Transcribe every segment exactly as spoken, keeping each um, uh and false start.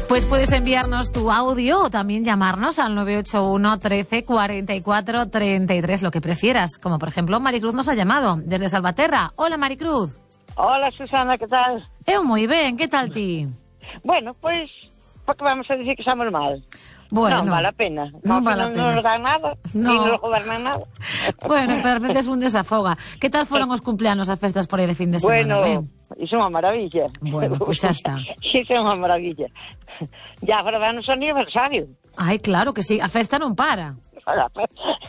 Pues puedes enviarnos tu audio o también llamarnos al nueve ocho uno, trece, cuarenta y cuatro, treinta y tres, lo que prefieras. Como por ejemplo, Maricruz nos ha llamado desde Salvaterra. Hola, Maricruz. Hola, Susana, que tal? Eu moi ben, que tal ti? Bueno, pois, pues, porque vamos a dicir que estamos mal. Bueno, non vale a pena. Non no, vale a no, pena. Non nos dan nada, no. ni nos gobernan nada. Bueno, pero a veces un desafoga. Que tal foron os cumpleanos, as festas por aí de fin de semana? Bueno, iso é unha maravilla. Bueno, pois pues xa está. Iso é unha maravilla. Ya agora van o seu aniversario. Ai, claro que sí, a festa non para.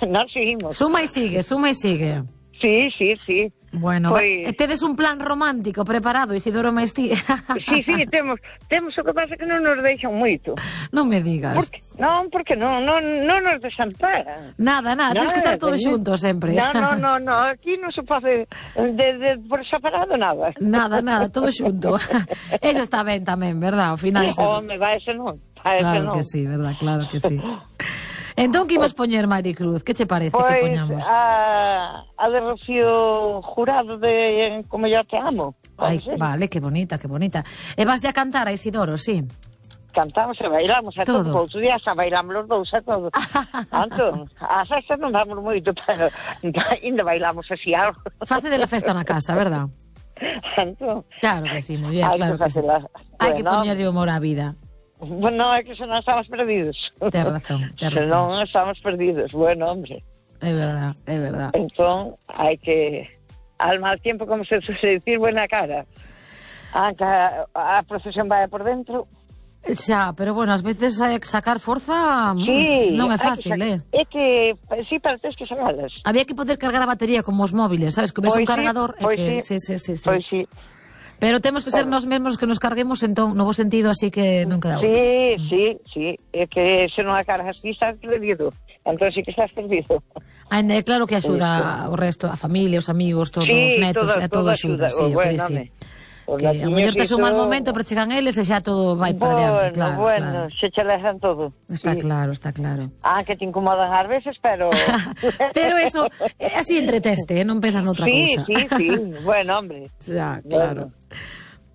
Non seguimos. Suma e sigue, suma e sigue. Sí, sí, sí. Bueno, pues... tedes un plan romántico preparado, Isidoro Maestí? Sí, sí, temos, temos o que pasa que non nos deixan moito. Non me digas. Porque, non, porque non, non, non nos desamparan. Nada, nada, tens que estar todos xuntos sempre. Non, non, non, no, aquí non se pode de, de, por separado nada. Nada, nada, todo xunto. Eso está ben tamén, verdad? Ao final... Home, vai ese non. Vai ese claro non. que sí, verdad, claro que sí. Entón, que imos poñer, Maricruz? Que che parece pues, que poñamos? a, a de Rocío Jurado de Como yo te amo. Ai, vale, que bonita, que bonita. E vas a cantar a Isidoro, sí? Cantamos e bailamos a todo. todo. Outro día xa bailamos los dous a todo. Anto, a festa non damos moito, pero ainda bailamos así algo. Face de la festa na casa, verdad? Anto. Claro que sí, moi bien, claro que sí. La... Hai que bueno, poñerlle humor á vida. Bueno, é que se non estamos perdidos. Ten razón, ten razón. Se non estamos perdidos, bueno, hombre. É verdad, é verdad. Entón, hai que... Al mal tiempo, como se suele decir, buena cara. Aunque a, a procesión vai por dentro... Xa, pero bueno, ás veces hai que sacar forza sí, non é fácil, sacar, eh? É que, sí, para tes que sacalas. Había que poder cargar a batería como os móviles, sabes? Que ves pois un cargador sí, e que... Sí, sí, sí, sí, pois sí. Pero temos que ser nós mesmos que nos carguemos entón, no bo sentido, así que non queda sí, outra. Sí, sí, sí, é que se non a cargas ti estás perdido, entón sí que estás perdido. Ainda é claro que axuda o resto, a familia, os amigos, todos sí, os netos, todo, é todo, todo axuda, axuda. sí, Oh, bueno, o que diste. Que a mellor tes un mal momento, pero chegan eles e xa todo vai para bueno, adiante, claro. Bueno, claro. se che lezan todo. Está sí. claro, está claro. Ah, que te incomodan ás veces, pero... pero eso, así entreteste, eh? Non pensas noutra sí, cousa. Sí, sí, sí, bueno, hombre. Xa, claro.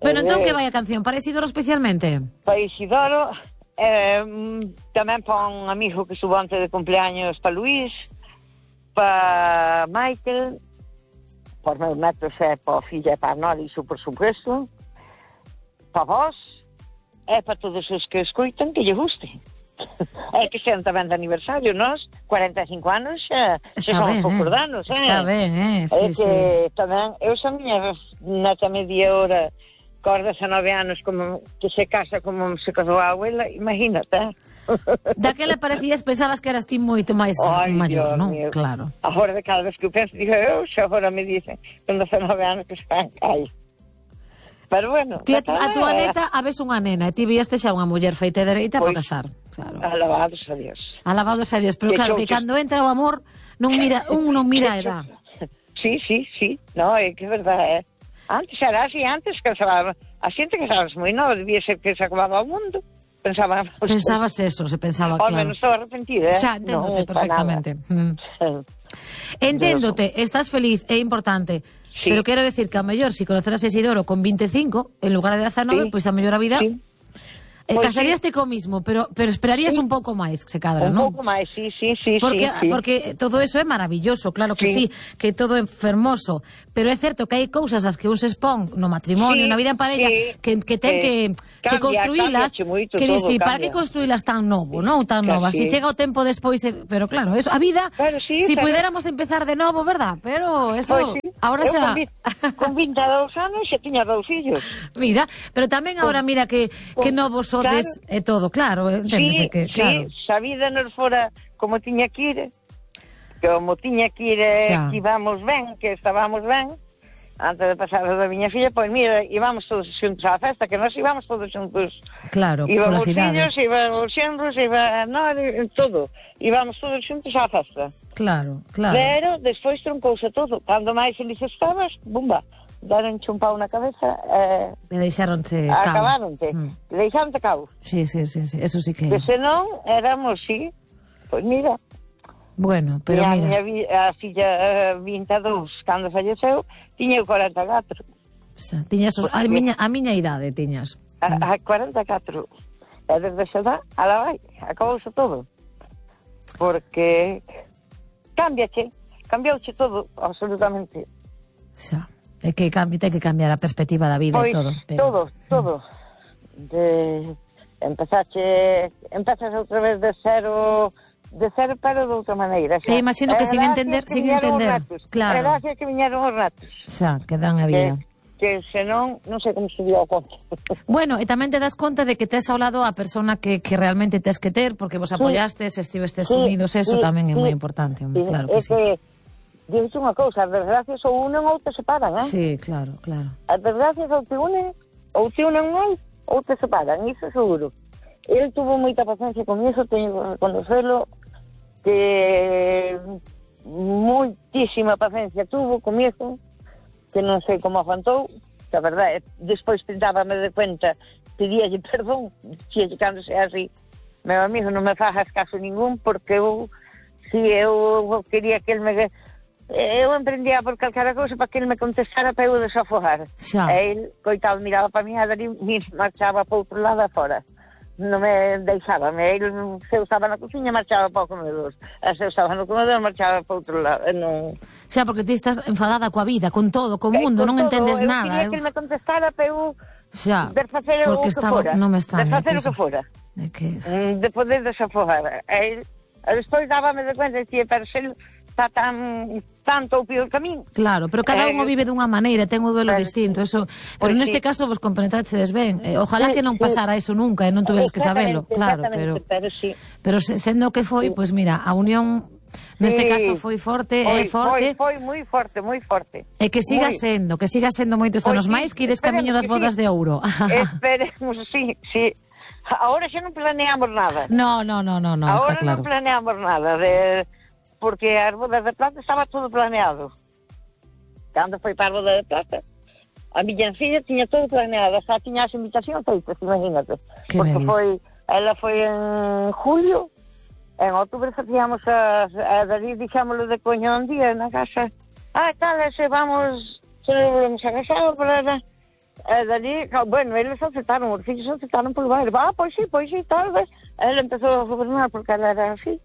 Bueno, bueno entón, que vai a canción? Para Isidoro especialmente? Para Isidoro, eh, tamén para un amigo que subo antes de cumpleaños, para Luís, para Michael, para os meus netos e para a filla e para a Noli, iso por supuesto, para vos, e para todos os que escoitan que lle guste. É que sean tamén de aniversario, nós, cuarenta e cinco anos, xa, xa son poucos eh? anos, eh? Está ben, eh? Sí, é que sí. tamén, eu xa miña neta media hora, cos dezanove anos, como que se casa como se casou a abuela, imagínate, daquela parecías, pensabas que eras ti moito máis Ay, maior, Dios non? Mío. Claro. Agora de cada vez que eu penso, digo, eu xa agora me dicen, con dezanove anos que se fan calle. Pero bueno... Ti, a, a túa neta, a ves unha nena, e ti vieste xa unha muller feita e dereita para casar. Claro. Alabados a Dios. Alabados a Dios, pero que claro, que cando entra o amor, non mira, un non mira a edad. Sí, sí, sí, no, é que é verdade, eh. Antes era así, antes casaba, a xente casabas moi nova, debía ser que se acababa o mundo. Pensaba, pensabas eso, se pensaba, claro. Ao menos estaba arrepentida, eh. Xa, enténdote no, perfectamente. Mm. Enténdote, estás feliz, é importante. Sí. Pero quero decir que a mellor, se si conoceras a Isidoro con vinte e cinco, en lugar de dezanove, pois sí. Pues a mellor a vida... Sí. Eh, pues casaríaste sí. Co mismo, pero pero esperarías sí. Un pouco máis, se cadra, non? Un pouco máis, sí, sí, sí, porque, sí, sí. Porque todo eso é maravilloso, claro que sí, sí que todo é fermoso, pero é certo que hai cousas as que un se expón no matrimonio, sí, na vida en parella, sí, que, que ten sí. que, cambia, que construílas, que diste, para que construílas tan novo, non? Tan claro, novas, sí. Si chega o tempo despois, pero claro, eso, a vida, claro, sí, si pero... puidéramos empezar de novo, verdad? Pero eso, pues sí. Ahora xa... Con vinte e dous anos xa tiña dous fillos. Mira, pero tamén agora mira que, que novos sodes claro. É todo, claro, enténdese sí, que, claro. Sí, se a vida nos fora como tiña que ir, como tiña que ir, xa. Que íbamos ben, que estábamos ben, antes de pasar da miña filla, pois mira, íbamos todos xuntos á festa, que nós íbamos todos xuntos. Claro, íbamos por as idades. Íbamos fillos, íbamos os xenros, íbamos, no, todo, íbamos todos xuntos á festa. Claro, claro. Pero despois truncouse todo, cando máis feliz estabas, bumba, daron un pau na cabeza e... Eh, deixaronte cao. Acabaronte, mm. deixaronte cao. Sí, sí, sí, sí, eso sí que... Que senón éramos, sí, pois mira... Bueno, pero a mira... Miña, a filla uh, vinte e dous, cando falleceu, tiña cuarenta e catro. Xa, tiñas os, a, miña, a miña idade, tiñas. A, a cuarenta e catro. E desde esa edad, a la vai, acabouse todo. Porque cámbiache, cambiouche todo, absolutamente. Xa, é que cambi, ten que cambiar a perspectiva da vida pois, e todo. Pero... todo, todo. De... Empezache, empezas outra vez de cero, de cero pero de outra maneira. Xa. E imagino que sin entender, sin entender, claro. Gracias que viñeron os ratos. Xa, que dan a vida. Que... que senón, non sei como se dio a conta. Bueno, e tamén te das conta de que tes ao lado a persona que, que realmente tes que ter, porque vos apoyastes, sí, estivestes sí, unidos, eso sí, tamén é sí, moi importante, sí, claro que é sí. Que, dices unha cousa, as desgracias ou unen ou te separan, eh? Sí, claro, claro. As desgracias ou te unen, ou te unen máis, ou te separan, iso seguro. El tuvo moita paciencia con iso, teño que conocelo, que moitísima paciencia tuvo con iso, que non sei como aguantou, que a verdade, despois dábame de cuenta, pedíalle perdón, dixíalle cando sea así, meu amigo, non me fajas caso ningún, porque eu, si eu quería que el me... Eu emprendía por calcara cousa para que el me contestara para eu desafogar. Xa. E el, coitado, miraba para mí, a dar marchaba para outro lado afora. Non me deixaba, el se eu estaba na cociña marchaba para o comedor, e se eu estaba no comedor marchaba para outro lado, non... Xa, porque ti estás enfadada coa vida, con todo, co mundo, non todo, entendes eu nada. Eu quería que ele me contestara para eu xa, de facer o que estaba, fora, non me extraña, de facer que o que fora, de, que... de poder desafogar. E, e despois dábame de cuenta, dicía, pero se está tan tanto o pior camín. Claro, pero cada un o vive dunha maneira, ten o duelo pero, distinto, eso, pero pues neste sí. caso vos compenetraxedes ben. Eh, ojalá sí, que non pasara sí. eso nunca e non tuveses que sabelo, claro, pero pero sí. Pero sendo que foi, pois pues mira, a unión neste sí. caso foi forte, é forte. Foi, foi moi forte, moi forte. E que siga muy... sendo, que siga sendo moitos anos sí, máis que ides camiño das bodas sí. de ouro. Esperemos, sí, sí. Ahora xa non planeamos nada. No, no, no, no, no está claro. Ahora non planeamos nada de porque as bodas de plata estaba todo planeado. Cando foi para a boda de plata, a miña filla tiña todo planeado, xa tiña as invitacións feitas, imagínate. Que porque veis. foi, ela foi en julio, en outubro facíamos a, a David, dixámoslo de coño un día na casa. Ah, tal, se vamos, se volvemos a casar para... A David, bueno, eles aceptaron, os fillos aceptaron por baile. Ah, pois sí, pois sí, tal vez. Ela empezou a gobernar porque ela era así.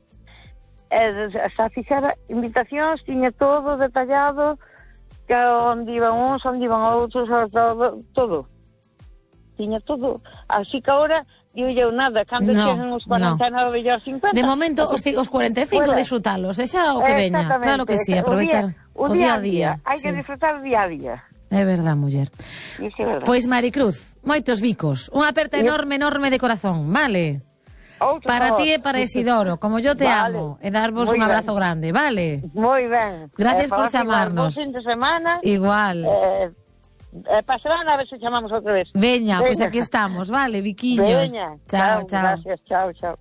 Xa fixera invitacións, tiña todo detallado, que onde iban uns, onde iban outros, todo, todo. Tiña todo. Así que agora, digo eu nada, cando no, cheguen os cuarenta e nove e os cincuenta... De momento, os, os cuarenta e cinco disfrutalos, e xa o que veña. Claro que sí, aproveitar o día, o día a día. Hai sí. que disfrutar o día a día. É verdad, muller. É verdad. Pois, Maricruz, moitos bicos. Unha aperta enorme, enorme de corazón, vale? Outro para favor. ti e para Isidoro, como yo te vale. amo, e darvos Muy un abrazo ben. grande, vale? Moi ben. Gracias eh, por chamarnos. Bom fin de semana. Igual. Eh, eh, para semana a ver se chamamos outra vez. Veña, pois pues aquí estamos, vale, biquiños. Veña. Chao, chao. Gracias, chao, chao.